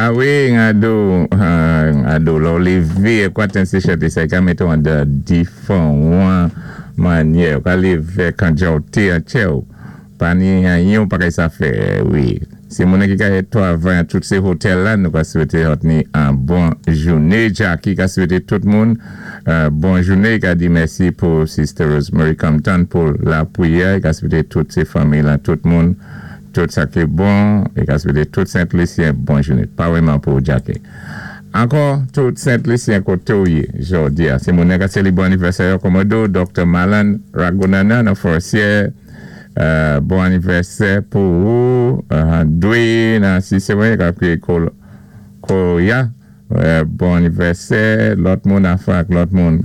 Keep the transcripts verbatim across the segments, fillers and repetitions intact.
A wi, ngado, ngado, lò lévé, kwa ten sé chanté sa, i ka mété-w an de diféwan mannyè. Ou ka lévé kan djòté an tchè-w. Pa ni anyen ou pa kay sa fè, wi. Sé moun ki ka twavay an tout sé hotèl la, nou ka swété zòt ni an bon jouné. Jackie ka swété tout moun bon jouné. Ka di mèsi pou Sister Rosemary Compton pou lapwiyè. Ka swété tout sé fanmi la, tout moun, tout sa ki bon. É ka swété tout Sent Lisyen bon jouné. Pa wèman pou Jackie. Ankò, tout Sent Lisyen koté ou yé, jòdi a. Sé moun ka sélébwé anivèsè kòmòdo, Doktè Malan Ragunanan an Forcier. Euh, bon anivèsè pou ou, uh, Dwayne nan Cicero, ka kwé Koya, euh, bon anivèsè, lòt moun a fak, lòt moun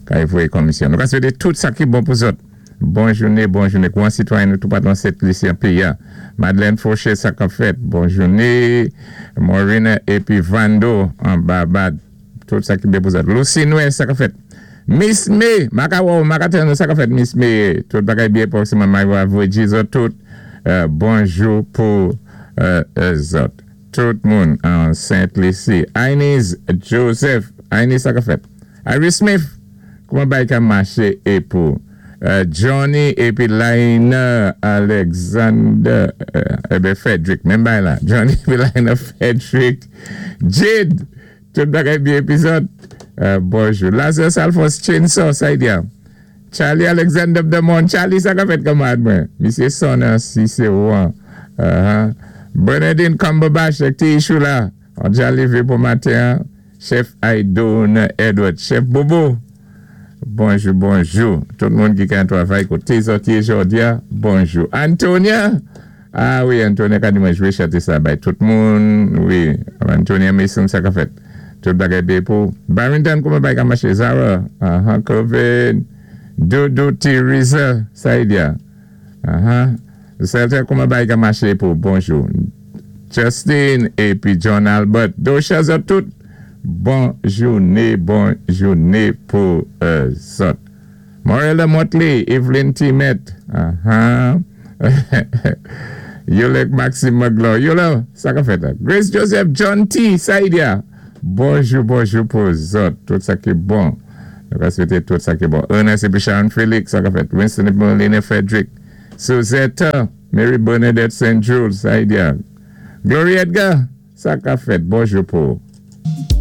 ka voyé komisyon. Nou ka swété tout sa ki bon pou zòt. Bon jouné, bon jouné. Kouan sitwayen nou tout pa dan Sent Lisyen péyi a. Madeleine Fauché, sa ka fèt. Bon jouné. Maureen épi Vando an Barbad. Tout sa ki byen pou zòt. Lucy Noël, sa ka fèt. Miss May, maka wou, maka ten sa ka fèt Miss May. Tout bagay byen pou si mamay wou avwe zòt tout. Euh, bonjou pou euh, zòt. Tout moun an Saint-Lucie. Inez Joseph, Inez, sa ka fèt. Iris Smith, kouman bay ka maché é pou euh, Johnny épi Laina Alexander, euh, eh Frederick, menm bay la. Johnny épi Laina Frederick. Jade, tout bagay byen épi zòt. Euh, bonjou. Lazarus Alphonse Chainsaw, sa y di. Charlie Alexander Demond. Charlie, sa ka fèt kanmad mwen. Misyé Sona Cicero. Uh-huh. Bernadine Cumberbatch, ti chou la. On dja lévé pou maten. Chef Aidon Edward. Chef Bobo. Bonjou, bonjou. Tout moun ki ka twavay koté zòt yé jòdi a. Bonjou. Antonia. A wi, Antonia ka di mwen jwé chanté sa bay tout moun. Wi, Antonia Mason, sa ka fèt. Tout bagay byen pou. Barrington, kouman bay ka maché? Zara. Uh-huh, Covid. Dodo Teresa, sa y di a. Uh-huh. Sèlten, kouman bay ka maché pou? Bonjou. Justin épi John Albert. Dosha zòt tout. Bon jouné, bon jouné pou euh, zòt. Morella Motley, Evelyn Timet. Uh-huh. Yolek Maxime Maglo. Yola, sa ka fèt la. Grace Joseph, John T. Sa y di a. Bonjou, bonjou pou zòt. Tout sa ki bon. Nou ka swété tout sa ki bon. Ernest épi Sharon Félix, sa ka fèt. Winston épi Melina Frederick. Suzette, Mary Bernadette Saint Jules, sa y di a. Gloria Edgar, sa ka fèt. Bonjou pou.